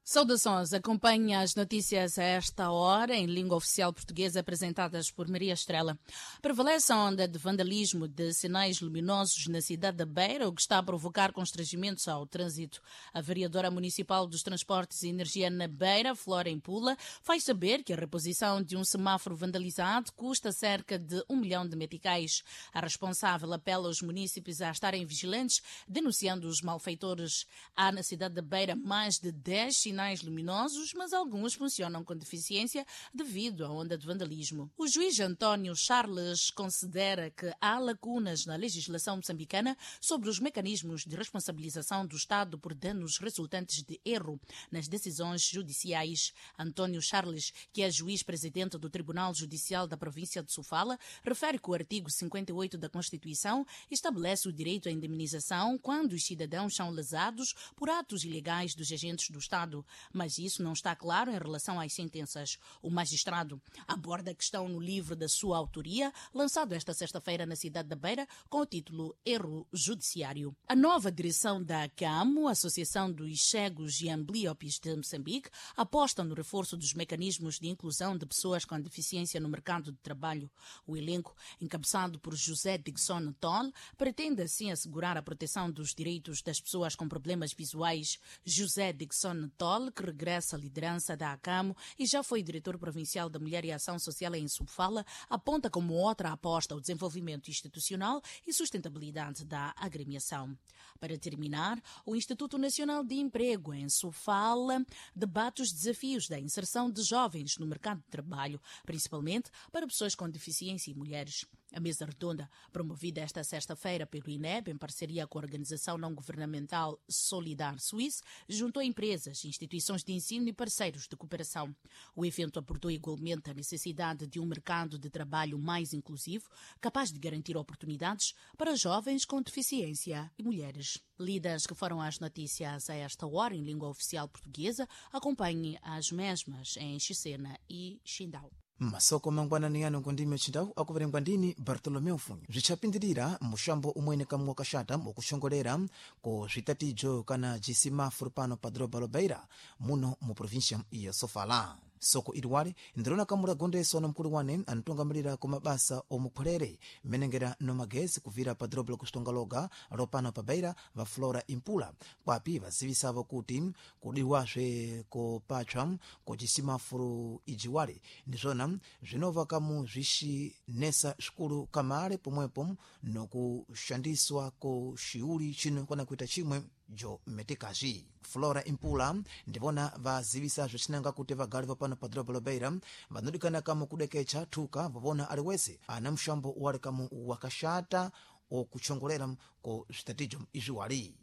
Saudações, acompanhe as notícias a esta hora em língua oficial portuguesa apresentadas por Maria Estrela. Prevalece a onda de vandalismo de sinais luminosos na cidade da Beira, o que está a provocar constrangimentos ao trânsito. A vereadora municipal dos Transportes e Energia na Beira, Flora Impula, faz saber que a reposição de um semáforo vandalizado custa cerca de 1 milhão de meticais. A responsável apela aos munícipes a estarem vigilantes, denunciando os malfeitores. Há na cidade da Beira mais de 10 sinais luminosos, mas alguns funcionam com deficiência devido à onda de vandalismo. O juiz António Charles considera que há lacunas na legislação moçambicana sobre os mecanismos de responsabilização do Estado por danos resultantes de erro nas decisões judiciais. António Charles, que é juiz presidente do Tribunal Judicial da província de Sofala, refere que o artigo 58 da Constituição estabelece o direito à indemnização quando os cidadãos são lesados por atos ilegais dos agentes do Estado, mas isso não está claro em relação às sentenças. O magistrado aborda a questão no livro da sua autoria, lançado esta sexta-feira na cidade da Beira, com o título Erro Judiciário. A nova direção da ACAMO, Associação dos Cegos e Amblíopes de Moçambique, aposta no reforço dos mecanismos de inclusão de pessoas com deficiência no mercado de trabalho. O elenco, encabeçado por José Dixon Toll, pretende assim assegurar a proteção dos direitos das pessoas com problemas visuais. José Dixon Toll, que regressa à liderança da ACAMO e já foi diretor provincial da Mulher e Ação Social em Sofala, aponta como outra aposta o desenvolvimento institucional e sustentabilidade da agremiação. Para terminar, o Instituto Nacional de Emprego em Sofala debate os desafios da inserção de jovens no mercado de trabalho, principalmente para pessoas com deficiência e mulheres. A mesa redonda, promovida esta sexta-feira pelo INEB, em parceria com a organização não-governamental Solidar Suisse, juntou empresas, instituições de ensino e parceiros de cooperação. O evento abordou igualmente a necessidade de um mercado de trabalho mais inclusivo, capaz de garantir oportunidades para jovens com deficiência e mulheres. Lidas que foram as notícias a esta hora em língua oficial portuguesa, acompanhe as mesmas em Chisena e Chindau. Masoko mangwanani ano ngondime chindau akuverengwa ndini Bartolomeu Funyu. Zvichapindirira mushambo umwene kamwe wakashata wokushongolera ku zvitatijo kana jisimafuru pano pa doroba Lobeira, muno mu província ya Sofala. Soko iliwali ndirona kamula gondeswa na mkulu wane anatungamirira ku mabasa omukhwelere menengera no magezi kuvira pa doroba lokuxitonga loga lopano pa Beira, va Flora Impula, kwapi vazivisavo kuti kudiwazve kopatshwa kucisimafuru ijiwali ndizvona zvinova kamu zvixinesa xikulu kamale, pomwepo nokuxandiswa ko xiuli chino kana kuita chimwe jo metikazi. Flora Impula ndivona vazivisa zvicinanga kuti vagali vapano pa doroba Lobeira vanodikana kamu kudekecha thuka vavona aliwese ana mushambo wali kamu wakashata okuchongolera ko zvitatijo izviwali.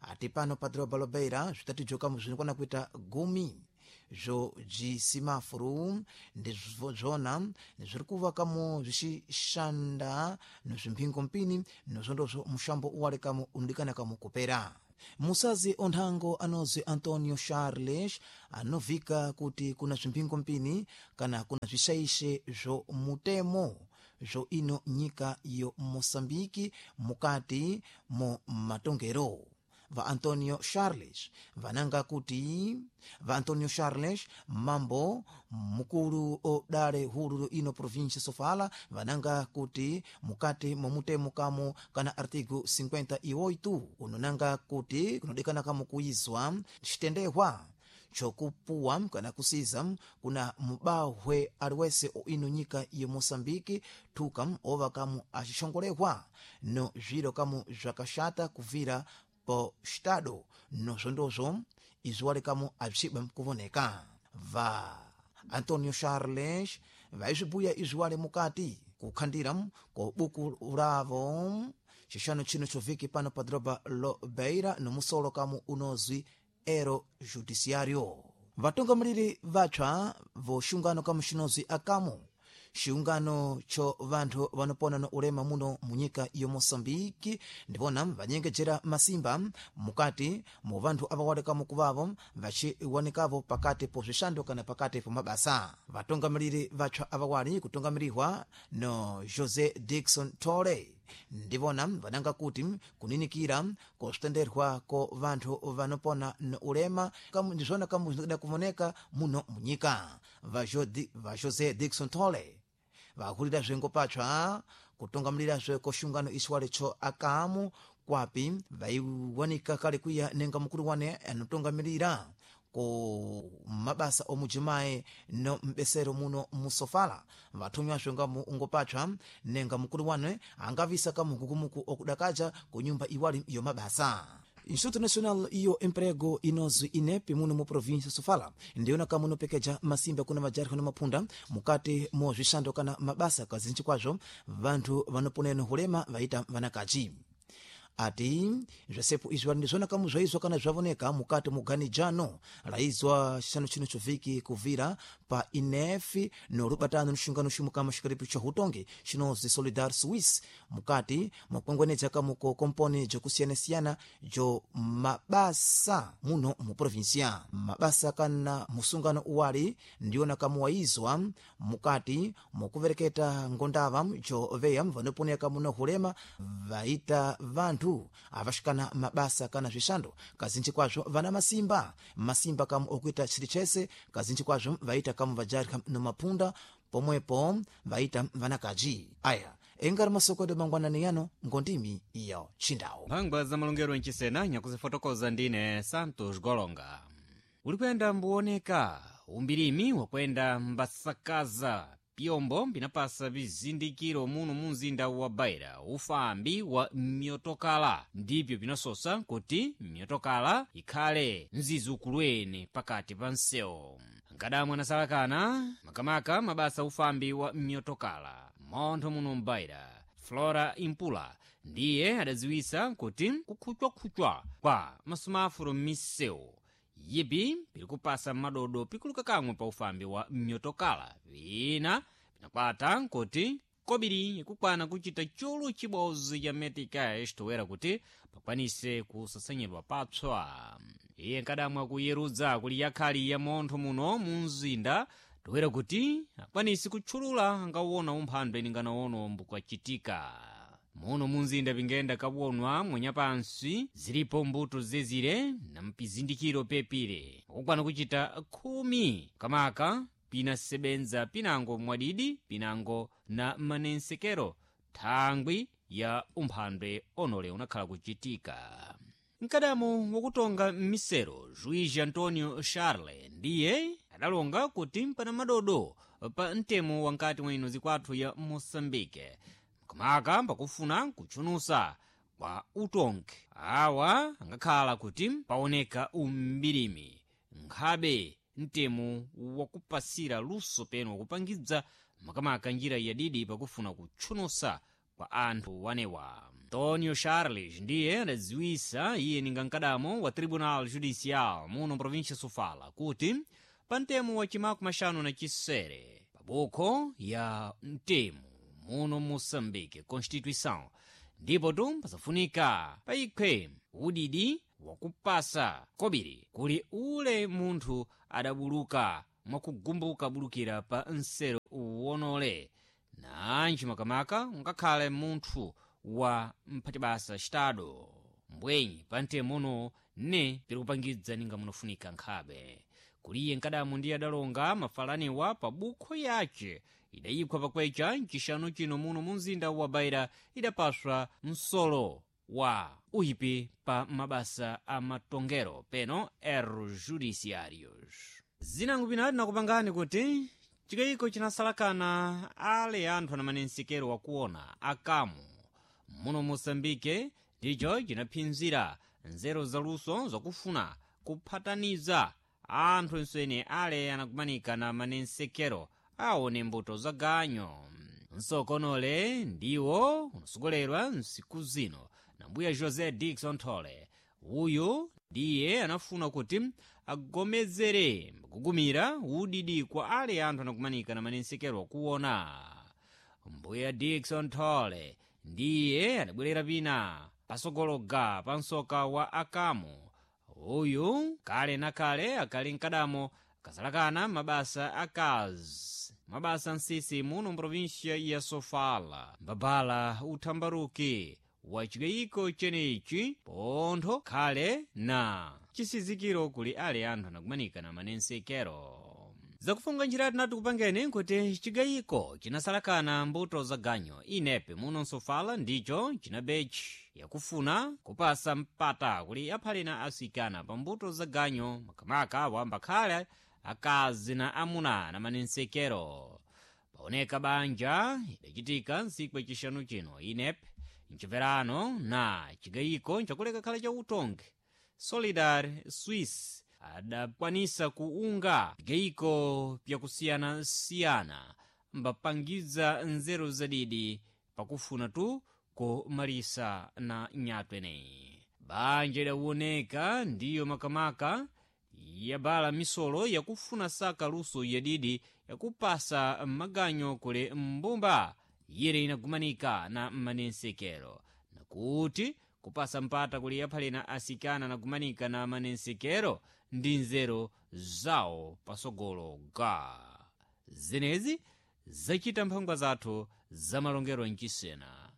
Ati pano pa doroba Lobeira zvitatijo kamu zvinokwana kuita 10 zvo jisimafuru ndizvona zviri kuva kamo zvicishanda nozvimphingompini, nozvondozvo mushambo uwali kamo unodikana kamo kupera. Musazi onthango anozwi Antonio Charles anovhika kuti kuna zvimphingompini kana kuna zvixaishe zvo mutemo zvo ino nyika yo Moçambike mukati mo matongero. Va Antonio Charles vananga kuti va Antonio Charles, mambo mukulu odale hulu ino província Sofala, vananga kuti mukati momutemo kamo kana artigo 58 unonanga kuti kunodikana kamo kuizwa xitendehwa chokupuwa kana kusiza kuna mubahwe aliwese ino nyika ya Moçambike thuka ova kamu axixongolehwa no zviro kamu zvakaxata kuvira po Estado, nozvondozvo izvi wali kamu abzixibwa kuvoneka. Va Antonio Charles vaizvibuya izvi wali mukati kukhandira ko buku lavo xixano chino choviki pano pa doroba Lobeira nomusolo kamu unozwi Ero Judiciário. Vatungamiriri vatsva voxungano kamu xinozwi akamu, xiungano cho vanthu vanopona no ulema muno munyika yo Moçambike, ndivona vanyengejera masimba mukati mu vanthu ava walekamo kuvavo vaciwanikavo pakati po zwixando kana pakati po mabasa. Vatungamiriri vatsva ava wali kutungamirihwa no José Dixon Tole. Ndivona vananga kuti kuninikira kositenderwa ko vanthu vanopona no ulema kamu ndizvona kamu zvinokada kuvoneka muno munyika. Va José Dixon Tole vakulira zvengo patsva kutungamirirazve koxungano isiwalecho akamu kwapi vaiwanika kale kwiya nenga mukulu wane anotungamirira ku mabasa omujimayi no mbesero muno musofala. Vathumwazve nga ungopatsva nenga mukulu wane angavisa kamukukumuku okudakaja ku nyumba iwali yomabasa. Instituto Nacional iyo Emprego inozi INEP muno mu província Sofala ndiyona kamunopekeja masimba kuna majarikho na mapunda mukati mo zwixando kana mabasa kazinji kwazvo vanthu vanoponeno hulema vaita vanakaji. Ati zvasepo izvi ndizvona kamu zvaizwa kana zvavoneka mukati muganijano laizwa xixano chino choviki kuvira pa INEF no rubatano nxungano ximukama xikaripi cha hutongi xinozi Solidar Suisse mukati mwakwengwenedza kamuko komponi jokusiyanasiyana jo mabasa muno mu província. Mabasa kana musungano uwali ndiyona kamuwaizwa mukati mokuvereketa ngondava jo veya vanoponeka muno hulema vaita vanthu avaxikana mabasa kana zwixando kazinji kwazvo vana masimba masimba kamu okuita chili chese kazinji kwazvo vaita kamu vajarika no mapunda pomwepo vaita vanakaji. Aya engari masoko edu mangwanani yano ngondimi iyo chindawu. Mphangwa za malongero mchisena nyakuzifotokoza ndine Santos Golonga. Uli kuyenda mbuoneka umbirimi wakwenda mbasakaza pyombo pinapasa vizindikiro muno mu mzinda wa Beira ufambi wa myotokala ndipyo pinasosa kuti myotokala ikhale mzizukulweni pakati pa msewu. Nkadamwe anasalakana makamaka mabasa ufambi wa myotokala montho muno m'Beira Flora Impula ndiye adadziwisa kuti kukhucwakhucwa kwa masumafulo m'misewu yipi pilikupasa madodo pikuluka kamwe pa ufambi wa myotokala vina pinakwata nkuti kobiri ikukwana kuchita chulu chibodzi cha meticais toera kuti pakwanise kusasanyidwa papswa. Iye nkadamwa kuyerudza kuli yakhali ya montho muno mu mzinda toera kuti akwanise kutchulula angawona umphandwe ninganawono mbukachitika muno munzinda pingenda kawonwa mwanyapansi zilipo mbuto zezire na mpizindikiro pepire akukwana kuchita 10 kamaka pinasebenza pinango mwadidi pinango na manensekero thangwi ya umphandwe onole unakhala kuchitika. Mkadamo wakutonga m'misero Juiz Antonio Charle ndiye adalonga kuti mpana madodo pa mtemo wankati mwa ino zikwathu ya Moçambique kamaka pakufuna kutchunusa kwa utongi awa angakhala kuti paoneka umbirimi nkhabe mtemo wakupasira luso peno wakupangidza makamaka njira yadidi pakufuna kutchunusa kwa anthu wanewa. Antonio Charles ndiye adadziwisa iye ninga mkadamo wa Tribunal Judicial muno província Sofala kuti pa mtemo wa chimaku maxanu na chisere pabukho ya mtemo muno Moçambique Constituição ndipo tu pasafunika paikhe udidi wakupasa kobiri kuli ule munthu adabuluka mwakugumbuka bulukira pa nsero wonole nanji makamaka ungakhale munthu wa mphatibasa xitado mbwenyi pa mtemono ne pirikupangidza ninga munofunika nkhabe kuliye nkadamu ndiye adalonga mafalaniwa pa bukho yace idayikhwa pakwecha mcixanu chino muno mu mzinda wa Beira idapaswa msolo wa uhipi pa mabasa a matongero peno erros judiciários. Zinango pinati nakupangani kuti chikayiko chinasalakana ale anthu anamanensekero wakuona akamu muno Moçambique ndicho chinaphinzira nzeru zaluso zakufuna kuphataniza anthu ensene ale anakumanika na manensekero aone mbuto za ganyo. Msokonole ndiwo unasogolerwa nsiku zino na mbuya José Dixon Tole. Uyu ndiye anafuna kuti agomezere kugumira udidi kwa ale anthu anakumanika na manensekero kuona. Mbuya Dixon Tole ndiye adabwerera pina pasogologa pa msoka wa akamu. Uyu kale na kale akali mkadamo Kasalakana mabasa akazi mabasa nsisi muno mprovinsia ya Sofala mbabala uthambaruki wa chigayiko chenechi pontho khale na chisizikiro kuli ale anthu anakumanika na manensekero. Zakufunga njira tinati kupangeni nkuti chigayiko chinasalakana mbuto za ganyo inepe muno nsofala ndicho chinabechi yakufuna kupasa mpata kuli aphale na asikana pa mbuto za ganyo makamaka wambakhale akazi na amuna na manensekero. Paoneka banja idachitika ntsiku yacixanu chino inepe mchimverano na chigayiko nchakuleka khala cha utongi Solidar Swiss adakwanisa kuunga vigayiko pyakusiyanasiyana mbapangiza nzeru zadidi pakufuna tu kumalisa na nyatwa eneyi. Banja idawoneka ndiyo makamaka yabala misolo yakufuna saka luso yadidi yakupasa maganyo kuli mbumba yire inagumanika na manensekero nakuti kupasa mpata kuli yaphalena asikana nagumanika na manensekero ndi nzeru zawo pasogolo ga zenezi zachita mphangwa zathu zamalongero mchisena.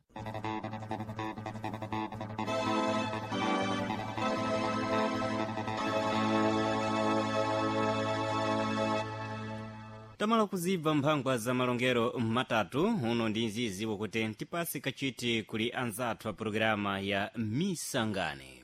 Tamala kuzibva mphangwa za malongero matatu uno ndi nzizi wakuti tipase kachiti kuli anzathu a programa ya Misangane.